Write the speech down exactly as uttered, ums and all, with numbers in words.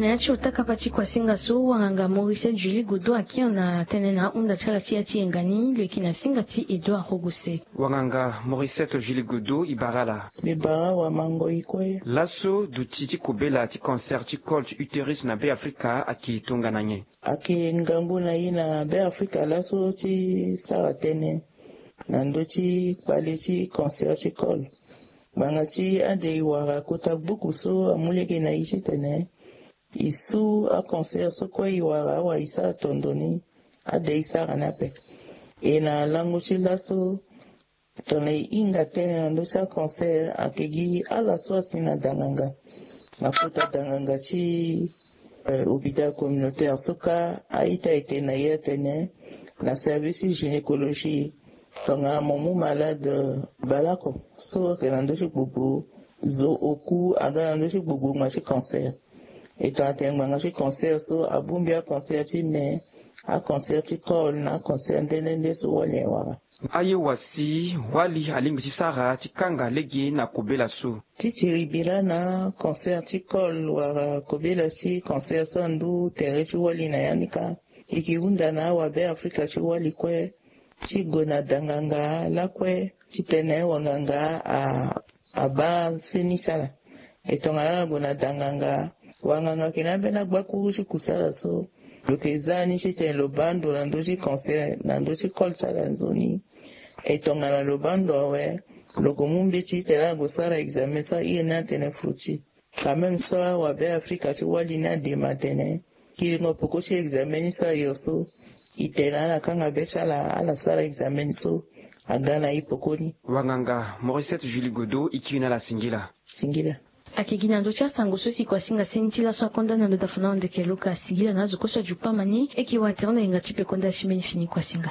Na ya ti otakapa ti kuasinga so wanganga Mauricette Julie Godo akiri na tënë na ahunda ti ala ti ya ti yenga ni lo yeke na singa ti Edouard Rogose. Wanganga Mauricette Julie Godo e bara ala. Mbi bara wa mango i kue. Laso duti ti kobela ti cancer ti col ti uterus na Beafrika ayeke tongana nyen? Ayeke ngangu na i na Beafrika laso ti sara tënë na ndö ti kpale ti cancer ti col. Ngbanga ti ade i wara kota gbuku so amu lege na i titene i su acancer so kue i wara awa i sara tondo ni. Ade i sara ni ape. E na lango ti laso tongana e hinga tënë na ndö ti acancer ayeke gi ala so asi na danganga na kota danganga ti hôpital communautaire so kâ a-ita ete na ye atene na service ti gynécologie tongana mo mu malade baleoko so ayeke na ndö ti gbogbo zo oku aga na ndö ti gbogbo ngbanga ti cancer. E tongana tene ngbanga ti cancer so abongbi acancer ti me, acancer ti col na acancer nde nde nde so wali awara. Aye wa si wali alingbi ti sara ti kanga lege na kobela so? Ti tiri bira na acancer ti col wala kobela ti cancer so andu tere ti wali na ya ni kâ. E ke hunda na awabe afrika ti wali kue ti gue na danganga lakue titene wanganga abaa seni ti ala. E tongana ala gue na danganga, wanganga ayeke na ambeni agbakuru ti kusala so lo yeke za ni titene lo baa ndo na ndö ti cancer na ndö ti col ti ala nzoni. E tongana lo baa ndo awe, lo yeke mu mbeti titene ala gue sara examen so ahiri ni atene foti. Quand même so awabe afrika ti wali ni adema atene kiringo peko ti examen ni so ayo so, e tene ala kanga be ti ala ala sara examen ni so aga na e peko ni. Wanganga Mauricette Julie Godo e kiri na ala singila. Singila. Ayeke gi na ndö ti asango so si kua singa seni ti laso akonda na ndö ti afandango ndeke luka singila na azo kue so ajuku pama ni. E yeke wara tere na yenga ti peko nda ti mbeni fini kua singa.